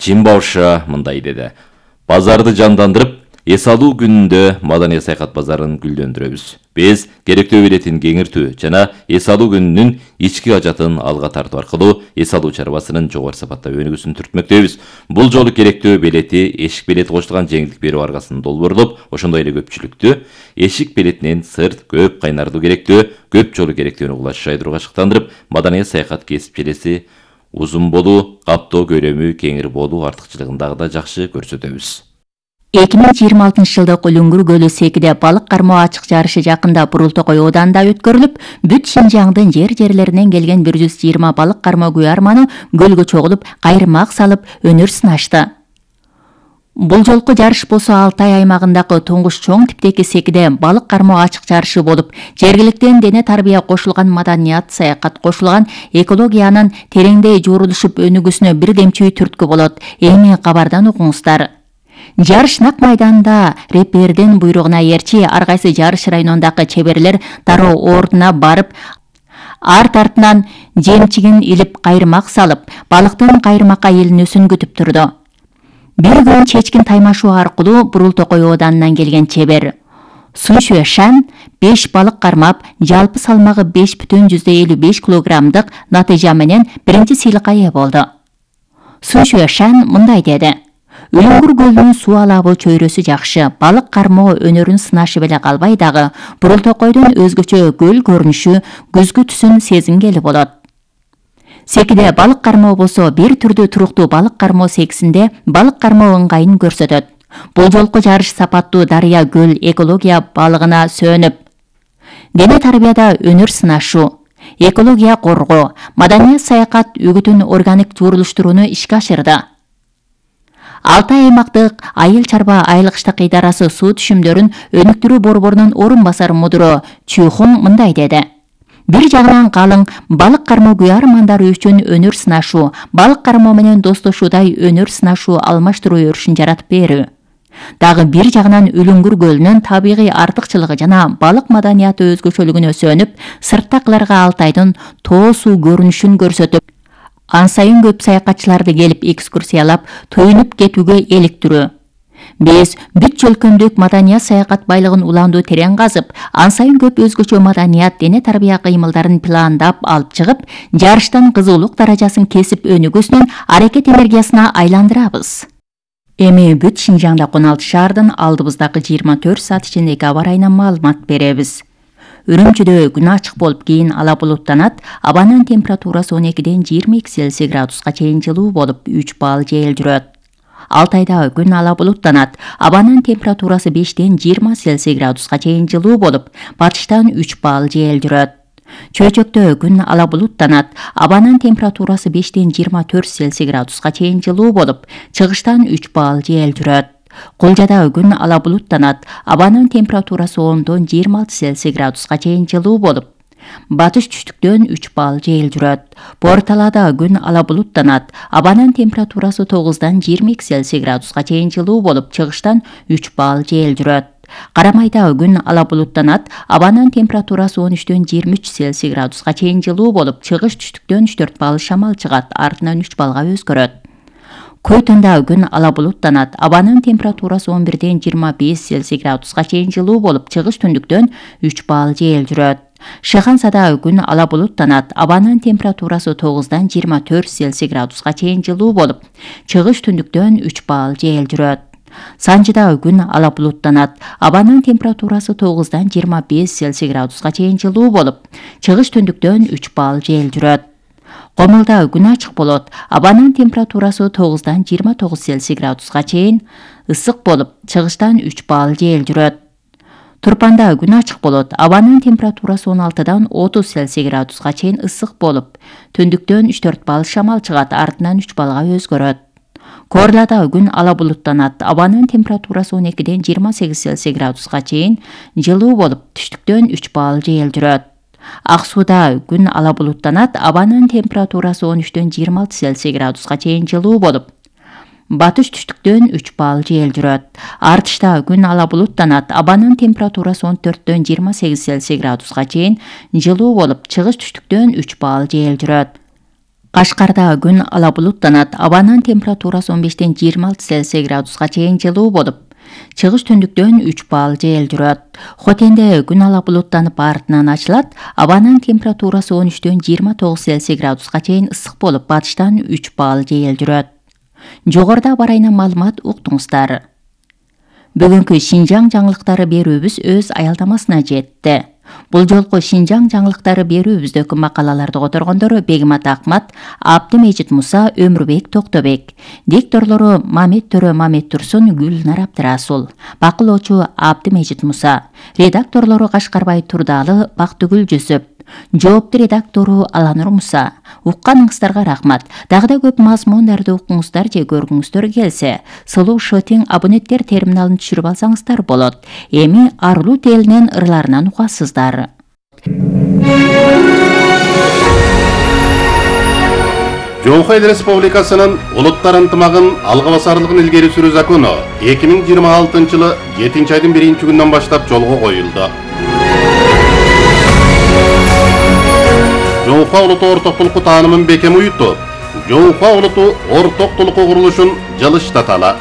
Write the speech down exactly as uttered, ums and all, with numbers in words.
Чимбауша мындай деди. Базарды жандандырып, эс алуу күнүндө маданий саякат базарын гүлдөндүрөбүз. Биз керектөө билетин кеңиртүү жана эс алуу күнүнүн ички ажатын алга тартуу аркылуу эс алуу чарбасынын жогору сапаттагы өнүгүүсүн түртмөктөбүз. Бул жолу керектөө билети эшик билети кошулган жеңилдик берүү аркасында долбоорлоп, ошондой эле көпчүлүктү эшик билетинен сырт көп кайнардуу керектөө, көп жолу керектөөнү кулаш жайдырууга ашыктандырып, маданий саякат кесипчилеси узун болуу, каптоо көлөмү кеңири болуу артыкчылыгын дагы да жакшы көрсөтөбүз. эки миң жыйырма алтынчы жылдык Үлүңгүр көлү Секиде балык кармоо ачык жарышы жакында Бурултокой ооданында өткөрүлүп, бүт Шинжаңдын жер-жерлеринен келген бир жүз жыйырма балык кармоо күйөрманы көлгө чогулуп, кайрымак салып, өнөр сынашты. Бул жолку жарыш болсо Алтай аймагындагы туңгуч чоң типтеги Секиде балык кармоо ачык жарышы болуп, жергиликтен дене тарбия кошулган маданият, саякат кошулган экологиянын тереңдей жуурулушуп өнүгүүсүнө бир демчүй түрткү болот. Эми кабардан окуңуздар. Жарыш нак майданда репердин буйругуна эрчи ар кайсы жарыш районундагы чеберлер дароо ордуна барып, арт артынан жемчигин илип кайрымак салып, балыктын кайрымакка илинүүсүн күтүп турду. Бир күн чечкин таймашуу аркылуу Бурултокой ооданынан келген чебер Суншуэ Шан беш балык кармап, жалпы салмагы беш бүтүн жүздөй элүү беш килограммдык натыйжа менен биринчи сыйлыкка ээ болду. Суншуэ Шан мындай деди. Үлүңгүр көлүнүн суу алабы чөйрөсү жакшы, балык кармоо өнөрүн сынашып эле калбай дагы, Бурултокойдун өзгөчө көл көрүнүшү, күзгү түсүн сезингели болот. Секиде балык кармоо болсо бир түрдүү туруктуу балык кармоо секисинде балык кармоо ыңгайын көрсөтөт. Бул жолку жарыш сапаттуу дарыя көл экология балыгына сөнүп, дене тарбияда өнөр сынашуу, экология коргоо, маданият саякат үгүтүн органик жуурулуштурууну ишке ашырды. Алтай аймактык айыл чарба айылгыштык идарасы суу түшүмдөрүн өнүктүрүү борборунун орун басары мудуру Чүйхун мындай деди. Бир жагынан калың балык кармоо күйөрмандары үчүн өнөр сынашуу, балык кармоо менен достошуудай өнөр сынашуу алмаштыруу өрүшүн жаратып берүү. Дагы бир жагынан Үлүңгүр көлүнүн табигый артыкчылыгы жана балык маданияты өзгөчөлүгүнө сөнүп, сырттакыларга Алтайдын тоо суу көрүнүшүн көрсөтүп, ансайын көп саякатчыларды келип экскурсиялап, туюнуп кетүүгө эликтирүү. Биз бүт чөлкөмдүк маданият саякат байлыгын уландуу терең казып, ансайын көп өзгөчө маданият, дене тарбия кыймылдарын пландап алып чыгып, жарыштан кызуулук даражасын кесип өнүгүүсүнүн аракет энергиясына айландырабыз. Эми бүт Шинжаңдагы он алты шаардын алдыбыздагы жыйырма төрт саат ичиндеги аба ырайынан маалымат беребиз. Үрүмчүдө күн ачык болуп, кийин ала булуттанат, абанын температурасы он экиден жыйырма эки Цельсий градуска чейин жылуу болуп, үч балл жел жүрөт. Алтайда күн ала булуттанат, абанын температурасы бештен жыйырма Цельсий градуска чейин жылуу болуп, батыштан үч балл жел жүрөт. Чөйчөктө күн ала булуттанат, абанын температурасы бештен жыйырма төрт Цельсий градуска чейин жылуу болуп, чыгыштан үч балл жел жүрөт. Кулжада күн ала булуттанат, абанын температурасы ондон жыйырма алты Цельсий градуска чейин жылуу болуп, батыш түштүктөн үч балл жел жүрөт. Борталада күн ала булуттанат, абанын температурасы тогуздан жыйырма эки Цельсий градуска чейин жылуу болуп, чыгыштан үч балл жел жүрөт. Карамайда күн ала булуттанат, абанын температурасы он үчтөн жыйырма үч Цельсий градуска чейин жылуу болуп, чыгыш түштүктөн үч төрт балл шамал чыгат, артынан үч баллга өзгөрөт. Көйтөндө күн ала булуттанат, абанын температурасы он бирден жыйырма беш Цельсий градуска чейин жылуу болуп, чыгыш түндүктөн үч балл жел жүрөт. Шыхансада күн ала булуттанат, абанын температурасы тогуздан жыйырма төрт Цельсий градуска чейин жылуу болуп, чыгыш түндүктөн үч балл жел жүрөт. Санжыда күн ала булуттанат, абанын температурасы тогуздан жыйырма беш Цельсий градуска чейин жылуу болуп, чыгыш түндүктөн үч балл жел жүрөт. Комулда күн ачык болот, абанын температурасы тогуздан жыйырма тогуз Цельсий градуска чейин ысык болуп, чыгыштан үч балл жел жүрөт. Турпанда күн ачык болот, абанын температурасы он алтыдан отуз Цельсий градуска чейин ысык болуп, түндүктөн үч төрт балл шамал чыгат, артынан үч баллга өзгөрөт. Корлада күн ала булуттанат, абанын температурасы он экиден жыйырма сегиз Цельсий градуска чейин жылуу болуп, түштүктөн үч балл жел жүрөт. Ак сууда күн ала булуттанат, абанын температурасы он үчтөн жыйырма алты Цельсий градуска чейин жылуу болуп, батыш түштүктөн үч балл жел жүрөт. Артышта күн ала булуттанат, абанын температурасы он төрттөн жыйырма сегиз Цельсий градуска чейин жылуу болуп, чыгыш түштүктөн үч балл жел жүрөт. Кашкарда күн ала булуттанат, абанын температурасы он бештен жыйырма алты Цельсий градуска чейин жылуу болуп, чыгыш түндүктөн үч балл жел жүрөт. Хотенде күн ала булуттанып артынан ачылат, абанын температурасы он үчтөн жыйырма тогуз Цельсий градуска чейин ысык болуп, батыштан үч балл жел жүрөт. Жогоруда аба ырайынан маалымат уктуңуздар. Бүгүнкү Шинжаң жаңылыктары берүүбүз өз аялдамасына жетти. Бул жолку Шинжаң жаңылыктары берүүбүздөгү макалаларды которгондор Бегимат Акмат, Абдымежит Муса, Өмүрбек Токтобек. Дикторлору Мамет Төрө Мамет Турсун, Гүлнар Абдырасул. Бакылоочу Абдымежит Муса. Редакторлору Кашкарбай Турдалы, Бактыгүл Жүсүп. Жоопту редактору Аланур Муса. Укканыңыздарга рахмат. Дагы да көп мазмундарды укуңуздар же көргүңүздөр келсе, Сулуу Шотинг абоненттер терминалын түшүрүп алсаңыздар болот. Эми Арлуу телинен ырларынан угасыздар. Жоңхо Эл Республикасынын улуттар ынтымагын алга басарлыгын илгери сүрүү закону эки миң жыйырма алтынчы жылы жетинчи айдын биринчи күнүнөн баштап жолго коюлду. Жоңхо улуту ортоктулукту таанымын бекем уютуп, Жоңхо улуту ортоктулукку курулушун жылыштаталы.